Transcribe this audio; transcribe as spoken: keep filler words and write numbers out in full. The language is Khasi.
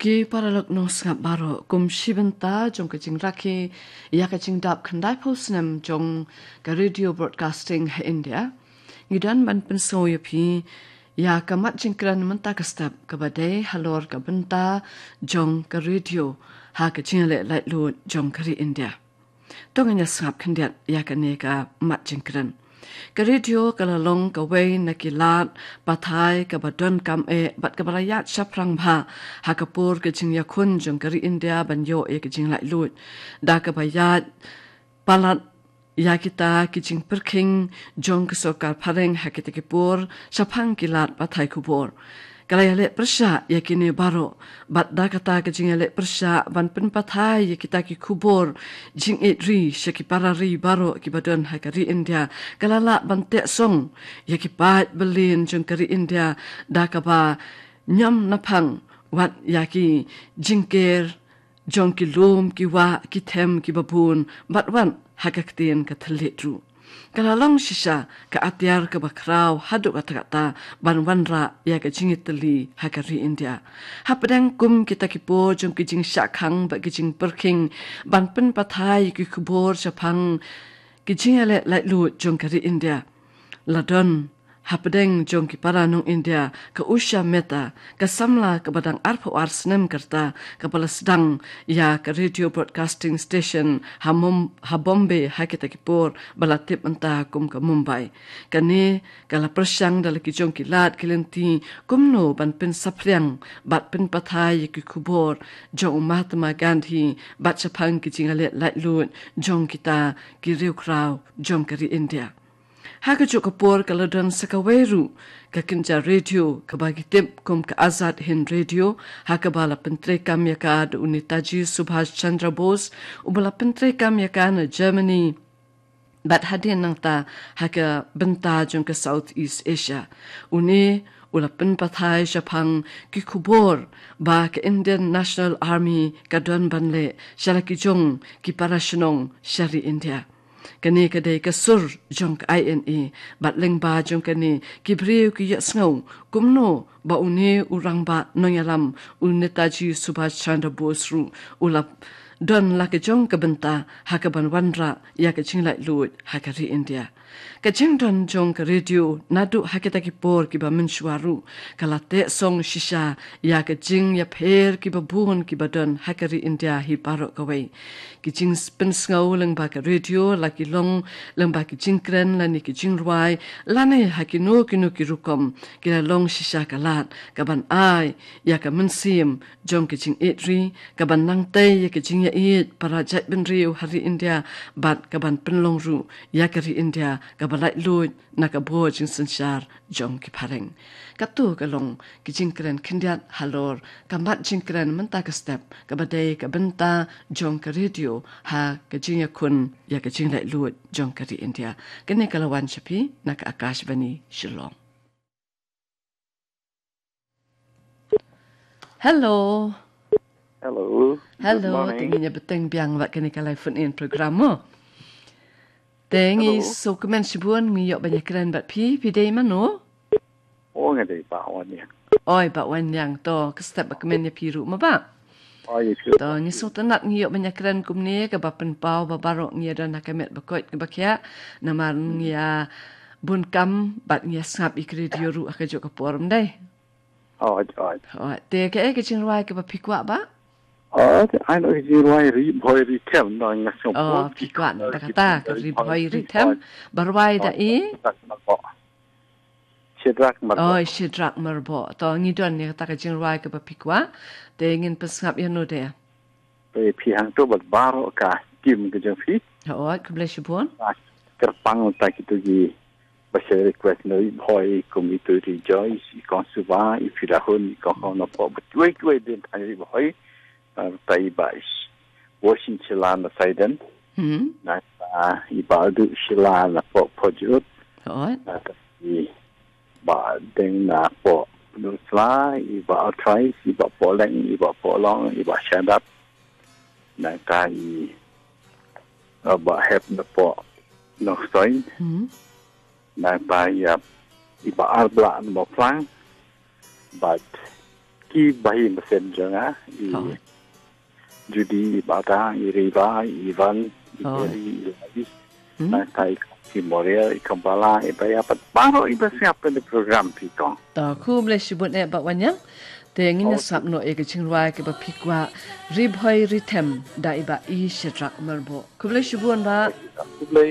Ki paralok nongsngap baroh, kum shi bynta jong ka jingrakhe ïa ka jingdap khyndai phew snem jong ka Radio Broadcasting ha India, ngi don ban pynsngew ïa phi ïa ka mat jingkren mynta ka step kaba dei halor ka bynta jong ka radio ha ka jingïaleh laitluid jong ka ri India. To ngin ïa sngap khyndiat ïa kane ka mat jingkren. Ka radio ka la long kawei na ki lad pathai kaba donkam eh bad kaba la ïaid shaphrang bha ha ka por ka jingïakhun jong ka ri India ban ïoh ïa ka jinglaitluid, da kaba ïaid palat ïa kita ki jingpyrkhing jong ka sorkar phareng ha kita ki por shaphang ki lad pathai khubor. Ka la ïaleh pyrshah ïa kine baroh, bad da kata ka jingïaleh pyrshah ban pynpathai ïa kita ki khubor jingïeit ri sha ki para ri baroh kiba don ha ka ri India, ka la lah ban teh song ïa ki paid byllian jong ka ri India, da kaba ñiam naphang wat ïa ki jingker jong ki lum, ki wah, ki them, kiba bun, bad wat ha ka ktien ka thylliej ruh. Ka la long shisha ka atiar kaba khraw haduh katta katta ban wanrah ïa ka jingïatylli ha ka ri India. Hapdeng kum kita ki por jong ki jingshah khang bad ki jingpyrkhing ban pynpathai ïa ki khubor shaphang ki jingïaleh laitluid jong ka ri India, la don hapdeng jong ki para nong India ka Usha Mehta, ka samla kaba dang arphew ar snem ka rta, kaba la sdang ïa ka Radio Broadcasting Station ha Mum-, ha Bombay ha kita ki por ba la tip mynta kum ka Mumbai. Kane ka la pyrshang da la ki jong ki lad ki lynti kumno ban pynsaphriang bad pynpathai ïa ki khubor jong u Mahatma Gandhi bad shaphang ki jingïaleh laitluid jong kita ki riewkhraw jong ka ri India. Ha kajuh ka por ka la don sa kawei ruh ka kynja radio kaba ki tip kum ka Azad Hind Radio, ha kaba la pyntreikam ïa ka da u Netaji Subhash Chandra Bose, uba la pyntreikam ïa ka na Germany, bad hadien nangta ha ka bynta jong ka Southeast Asia. Une u la pynpathai shaphang ki khubor ba ka Indian National Army ka don ban leh sha la ki jong ki para shnong sha ri India. Kane ka dei ka sur jong ka I N A, bad lyngba jong kane ki briew ki ïohsngew kumno ba une u rangbah nongïalam, u Netaji Subhash Chandra Bose ruh u la don la ka jong ka bynta ha kaban wanrah ïa ka jinglaitluid ha ka ri India. Ka jingdon jong ka radio naduh ha kita ki por kiba mynshuwa ruh ka la teh song shisha ïa ka jingïapher kiba bun kiba don ha ka ri India hi baroh kawei. Ki jingpynsngew lyngba ka radio, la ki long lyngba ki jingkren lane ki jingrwai, lane ha kino kino ki rukom, ki la long shisha ka lad kaban ai ïa ka mynsiem jong ka jingïeit ri, kaban nangtei ïa ka jingïaieit para jaitbynriew ha ri India, bad kaban pynlong ruh ïa ka ri India kaba laitluid na ka bor jingsynshar jong ki phareng. Kato ka long ka jingkren khyndiat halor ka mat jingkren mynta ka step, kaba dei ka bynta jong ka radio ha ka jingïakhun ïa ka jinglaitluid jong ka ri India. Kane ka la wan sha phi na ka Akashvani Shillong. Hello. Hello. Good morning. Te ngin ïa bteng biang bad kane ka live phone in program mo. Te ngi Hello. Sngewkmen shibun, ngi ïoh ban ïakren bad phi, phi dei mano? Oh, nga dei Bah Wanniang. Oi, Bah Wanniang, to, ka step ba kmen ïa phi ruh mo Bah. Oh, ïa phi. To, ngi sngewtynnat ngi ïoh ban ïakren kumne, kaba pynpaw ba baroh ngi ïa don ha ka met ba koit kaba khiah, namar ngi ïa bun kam bad ngi ïa sngap ïa ka radio ruh ha kajuh ka por, ym dei? Oi, oi. Oi, te kaei ka jingrwai kaba phi kwah Bah? Oh, te ai no ka jingrwai Ri Bhoi Ri Them, no, nga sngewpot. Oh, phi kwah na kata ka Ri Bhoi Ri Them. Ba rwai da i? Shedrak Myrboh. Oh, Shedrak Myrboh. To ngi don ïa kata ka jingrwai kaba phi kwah. Te ngin pynsngap ïa no de? Te phi hangto bad baroh ka team ka jong phi. Oi, khublei shibun. Kyrpang ta kito ki ba share request na Ri Bhoi, kum ito i Rejoice, i Kong Suba, i Firahun, i Kong Kong Napoh, ba kiwei kiwei din tang Ri Bhoi, ah, ta i Bah Woshin Shila na Saiden, Hmm. na ta i Bah Aldu Shila na Pok Pojut, Oi. na ta i Bah Deng na Pok Nusla, i Bah Altrais, i Bah Poleng, i Bah Polong, i Bah Shadap, na ta i, ah, Bah Hep na Pok Nongstoin, Hmm. na ta i, ah, i Bah Arbla na Moplang, bad ki bahaïing basen jong nga, i Judy, i Bata, i Reva, i Ivan, i Jerry, i Lavis, na ka i Memorial, i Kambala, i Baya, pat baroh i ba sngap ïa ka program phi kong. To, khublei shibun eh Bah Wanniang. Te ngin ïa sngap noh ïa ka jingrwai kaba phi kwah, Ri Bhoi Ri Them, da i Bah I Shadrach Myrboh. Khublei shibun Bah. Khublei.